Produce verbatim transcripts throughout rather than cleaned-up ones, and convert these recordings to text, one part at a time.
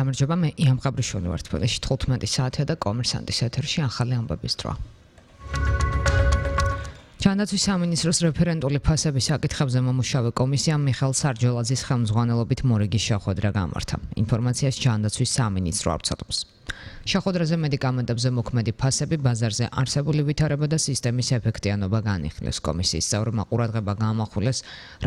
გამარჯობა, მე იან ყაბრიშვილი ვარ თბილისში თხუთმეტი საათია და კომერსანტის ეთერში ახალი ამბების დრო. ჯანდაცვის სამინისტროს რეფერენტული ფასების საკითხებზე მომუშავე კომისიამ მიხეილ სარჯოლაძის ხელმძღვანელობით მორიგი შეხვედრა გამართა. ინფორმაციას ჯანდაცვის სამინისტრო ავრცელებს. შეხვედრაზე მედიკამენტებზე მოქმედი ფასები, ბაზარზე არსებული ვითარება და სისტემის ეფექტიანობა განიხილეს. კომისიის წევრმა ყურადღება გაამახვილეს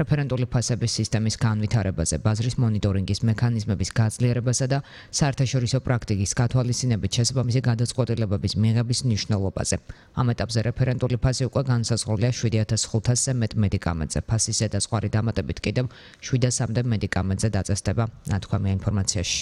რეფერენტული ფასების სისტემის განვითარებაზე, ბაზრის მონიტორინგის მექანიზმების გაძლიერებასა და საერთაშორისო პრაქტიკის გათვალისწინებით შესაბამისი გადაწყვეტილებების მიღების მნიშვნელობაზე. ამ ეტაპზე რეფერენტული ფასი უკვე განსაზღვრულია შვიდი ათას ხუთასზე მეტ მედიკამენტზე. ფასის ზედაზღვარი დამატებით კიდევ შვიდასამდე მედიკამენტზე დაწესდება, ნათქვამია ინფორმაციაში.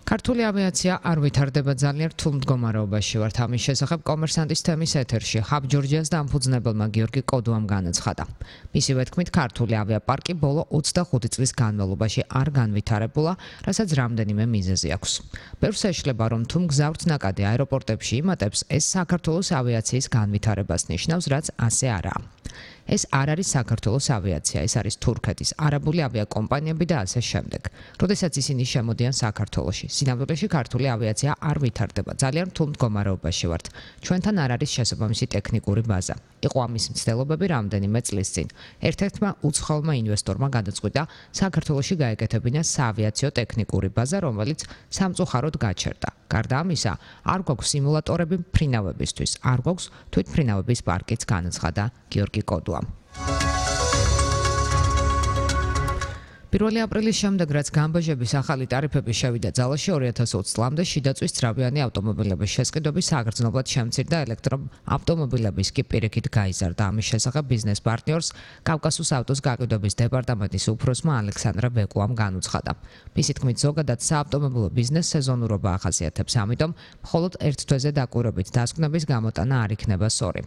ქართული ავიაცია არ ვითარდება ძალიან რთულ მდგომარეობაში ვართ. ამის შესახებ კომერსანტის თემის ეთერში ჰაბ ჯორჯიას დამფუძნებელმა გიორგი კოდუამ განაცხადა. მისივე თქმით, ქართული ავიაპარკი ბოლო ოცდახუთი წლის განმავლობაში არ განვითარებულა, რასაც რამდენიმე მიზეზი აქვს. ბევრს ეშლება, რომ თუ მგზავრთ ნაკადი აეროპორტებში იმატებს, ეს საქართველოს ავიაციის განვითარებას ნიშნავს, რაც ასე არაა. ეს არ არის საქართველოს ავიაცია, ეს არის თურქეთის, არაბული ავიაკომპანიები და ასე შემდეგ. როდესაც ისინი შემოდიან საქართველოში, სინამდვილეში ქართული ავიაცია არ ვითარდება, ძალიან რთულ მდგომარეობაში ვართ. ჩვენთან არ არის შესაბამისი ტექნიკური ბაზა. იყო ამის მცდელობები რამდენიმე წლის წინ. ერთ-ერთმა უცხოელმა ინვესტორმა გადაწყვიტა საქართველოში გაეკეთებინა საავიაციო ტექნიკური ბაზა, რომელიც სამწუხაროდ გაჩერდა. გარდა ამისა, არ გვაქვს სიმულატორები მფრინავებისთვის, არ გვაქვს თვითმფრინავების პარკიც, განაცხადა გიორგი კოდუამ. პირველი აპრილის შემდეგ, რაც გამბაჟების ახალი ტარიფები შევიდა ძალაში, ორი ათას ოცი წლამდე შიდაწვის ძრავიანი ავტომობილების შესყიდვები საგრძნობლად შემცირდა, ელექტროავტომობილების კი პირიქით გაიზარდა. ამის შესახებ ბიზნეს პარტნიორს კავკასუს ავტოს გაყიდვების დეპარტამენტის უფროსმა ალექსანდრა ბეკუამ განუცხადა. მისი თქმით, ზოგადად საავტომობილო ბიზნეს სეზონურობა ახასიათებს, ამიტომ მხოლოდ ერთ თვეზე დაკვირვებით დასკვნების გამოტანა არ იქნება სწორი.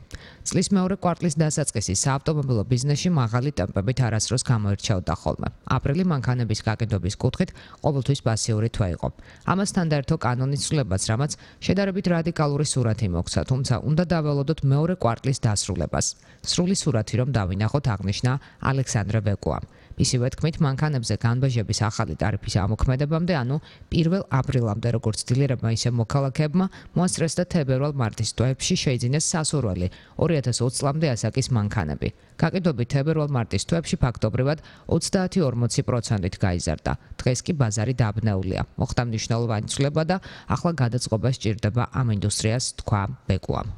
წლის მეორე კვარტლის დასაწყისი საავტომობილო ბიზნესში მაღალი ტემპებით არასდროს გამოირჩეოდა ხოლმე. აპრილი მანქანების გაყიდვების კუთხით ყოველთვის პასიური თვე იყო. ამასთან და ერთო კანონის ცვლილებაც, რამაც შედარებით რადიკალური სურათი მოგვცა, თუმცა უნდა დაველოდოთ მეორე კვარტლის დასრულებას. სრული სურათი რომ დავინახოთ, აღნიშნა ალექსანდრა ბეკუამ. ისივე თქმით, მანქანებზე განბაჟების ახალი ტარიფის ამოქმედებამდე, ანუ პირველ აპრილამდე, როგორც დილერებმა, ისე მოქალაქეებმა მოასწრეს და თებერვალ-მარტის თვეებში შეიძინეს სასურველი ორი ათას ოცი წლამდე ასაკის მანქანები. გაყიდვები თებერვალ-მარტის თვეებში ფაქტობრივად ოცდაათი ორმოცი პროცენტით გაიზარდა. დღეს კი ბაზარი დაბნეულია. მოხდა მნიშვნელოვანი ცვლილება და ახლა გადაწყობა სჭირდება ამ ინდუსტრიას, თქვა ბეკუამ.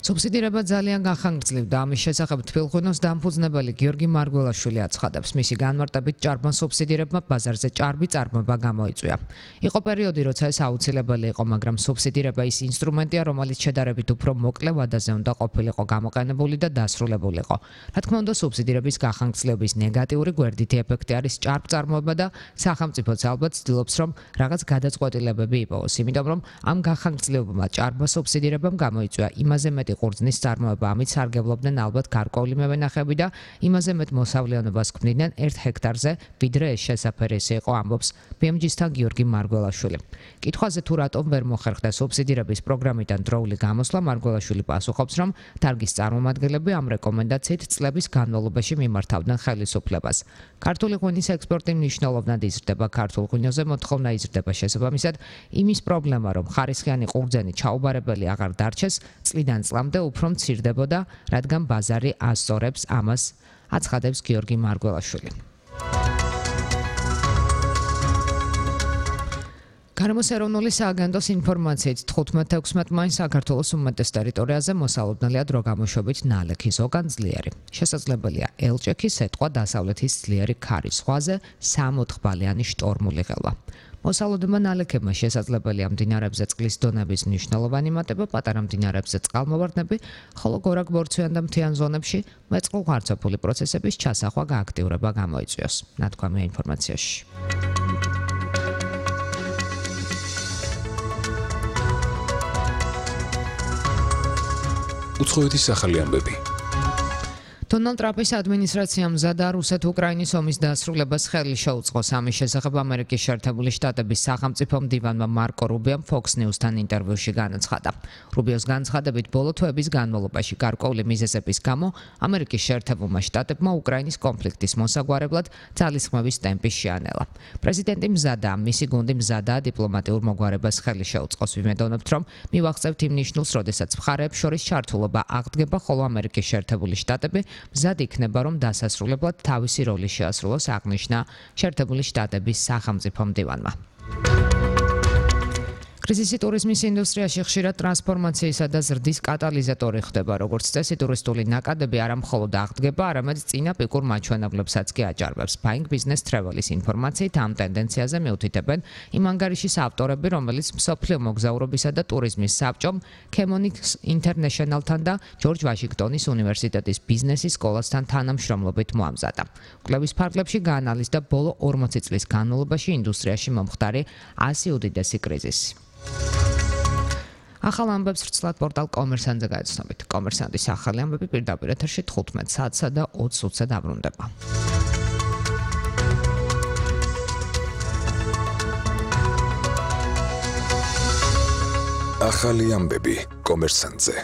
სუბსიდირება ძალიან გახანგრძლივდა. ამის შესახებ თბილღვინოს დამფუძნებელი გიორგი მარგველაშვილი აცხადებს, მისი განმარტებით ჭარბმა სუბსიდირებმა ბაზარზე ჭარბი წარმოება გამოიწვია. იყო პერიოდი, როცა ეს აუცილებელი იყო, მაგრამ სუბსიდირება ის ინსტრუმენტია, რომელიც შედარებით უფრო მოკლე ვადაზე უნდა ყოფილიყო გამოყენებული და დასრულებულიყო. რა თქმა უნდა, სუბსიდირების გახანგრძლივების ნეგატიური გვერდითი ეფექტი არის ჭარბ წარმოება და სახელმწიფოც ალბათ ცდილობს, რომ რაღაც გადაწყვეტილებები იპოვოს, იმიტომ რომ ამ გახანგრძლივებმა ჭარბმა სუბსიდირებამ გამოიწვია იმაზე მეტი ყურძნის წარმოება, ამით სარგებლობდნენ ალბათ გარკვეული მევენახები და იმაზე მეტ მოსავლიანობას ქმნიდნენ ერთ ჰექტარზე, ვიდრე ეს შესაფერისი იყო, ამბობს ბი ემ ჯი-სთან გიორგი მარგველაშვილი. კითხვაზე თუ რატომ ვერ მოხერხდა სუბსიდირების პროგრამიდან დროული გამოსვლა, მარგველაშვილი პასუხობს, რომ დარგის წარმომადგენლები ამ რეკომენდაციით წლების განმავლობაში მიმართავდნენ ხელისუფლებას. ქართული ღვინის ექსპორტი მნიშვნელოვნად იზრდება, ქართულ ღვინოზე მოთხოვნა იზრდება, შესაბამისად, იმის პრობლემა, რომ ხარისხიანი ყურძენი ჩაუბარებელი აღარ დარჩეს, წლიდან წლამდე უფრო მცირდებოდა, რადგან ბაზარი ასწორებს ამას, აცხადებს გიორგი მარგველაშვილი. გარემოს ეროვნული სააგენტოს ინფორმაციით თხუთმეტ ექვსმეტ მაისს საქართველოს უმეტეს ტერიტორიაზე მოსალოდნელია დრო გამოშვებით ნალექი, ზოგან ძლიერი. შესაძლებელია ელჭექი, სეტყვა, დასავლეთის ძლიერი ქარი, ზღვაზე სამოთხბალიანი შტორმული ღელვა. მოსალოდნელმა ნალექებმა შესაძლებელია მდინარეებზე წყლის დონების მნიშვნელოვანი მატება, პატარა მდინარეებზე წყალმოვარდნები, ხოლო გორაკ-ბორცვიან და მთიან ზონებში მეწყვილ-ღვარცოფული პროცესების ჩასახვა გააქტიურება გამოიწვიოს, ნათქვამია ინფორმაციაში. უცხოეთის ახალი ამბები. დონალდ ტრამპის ადმინისტრაციამ მზადა რუსეთ-უკრაინის ომის დასრულებას ხელი შეუწყოს. ამის შესახებ ამერიკის შეერთებული შტატების სახელმწიფო მდივანმა მარკო რუბიომ Fox News-თან ინტერვიუში განაცხადა. რუბიოს განცხადებით, ბოლო თვეების განმავლობაში გარკვეული მიზეზების გამო ამერიკის შეერთებულმა შტატებმა უკრაინის კონფლიქტის მოსაგვარებლად ძალისხმევის ტემპი შეანელა. პრეზიდენტი მზადაა, მისი გუნდი მზადაა დიპლომატიურ მოგვარებას ხელი შეუწყოს. ვიმედოვნებთ, რომ მივახცევთ იმ ნიშნულს, როდესაც მხარეებს შორის ჩართულობა აღდგება, ხოლო ამერიკის შეერთებული შტატები მზად იქნება, რომ დასასრულებლად თავისი როლი შეასრულოს, აღნიშნა შეერთებული შტატების სახელმწიფო მდივანმა. კრიზისი ტურიზმის ინდუსტრიაში ხშირად ტრანსფორმაციისა და ზრდის კატალიზატორი ხდება, როგორც წესი ტურისტული ნაკადები არა მხოლოდ აღდგება, არამედ წინა პიკურ მაჩვენებლებსაც კი აჭარბებს. Buying Business Travel-ის ინფორმაციით ამ ტენდენციაზე მიუთითებენ იმ ანგარიშის ავტორები, რომელიც მსოფლიო მოგზაურობისა და ტურიზმის საბჭომ, Chemonics International-თან და ჯორჯ ვაშინგტონის უნივერსიტეტის ბიზნესის სკოლასთან თანამშრომლობით მოამზადა. კვლევის ფარგლებში გაანალიზდა ბოლო ორმოცი წლის განმავლობაში ინდუსტრიაში მომხდარი ასი უდიდესი კრიზისი. ახალ ამბებს ვრცლად პორტალ კომერსანტზე გაეცნობით. კომერსანტის ახალი ამბები პირდაპირ ეთერში თხუთმეტ საათსა და ოცი წუთზე დაბრუნდება. ახალი ამბები კომერსანტზე.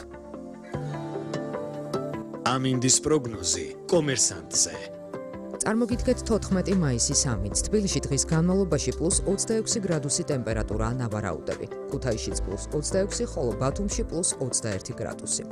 ამინდის პროგნოზი კომერსანტზე. წარმოგიდგეთ თოთხმეტი მაისის ამით. თბილისში დღის განმავლობაში პლუს ოცდაექვსი გრადუსი ტემპერატურაა ნავარაუდები. ქუთაისშიც პლუს ოცდაექვსი, ხოლო ბათუმში პლუს ოცდაერთი გრადუსი.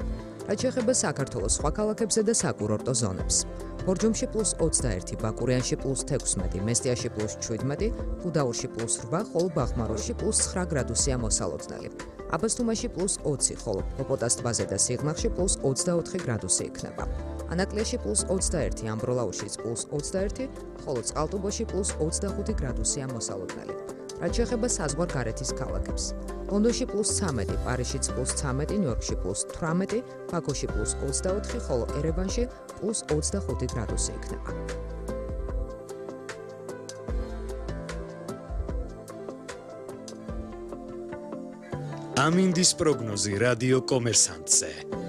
რაც შეეხება საქართველოს სხვა ქალაქებზე და საკურორტო ზონებს. ბორჯომში პლუს ოცდაერთი, ბაკურიანში პლუს თექვსმეტი, მესტიაში პლუს შვიდმეტი, გუდაურში პლუს რვა, ხოლო ბაღმაროში პლუს ცხრა გრადუსია მოსალოდნელი. აბასთუმაში პლუს ოცი, ხოლო პოპოტას ტბაზე და სიღნაღში პლუს ოცდაოთხი გრადუსი იქნება. ანაკლიაში პლუს ოცდაერთი, ამბროლაურშიც პლუს ოცდაერთი, ხოლო წყალტუბოში პლუს ოცდახუთი გრადუსია მოსალოდნელი. რაც შეეხება საზღვარგარეთის ქალაქებს. ლონდონში პლუს ცამეტი, პარიზშიც პლუს ცამეტი, ნიუ-იორკში პლუს თვრამეტი, ბაქოში პლუს ოცდაოთხი, ხოლო ერევანში პლუს ოცდახუთი გრადუსი იქნება. ამინდის პროგნოზი რადიო კომერსანტზე.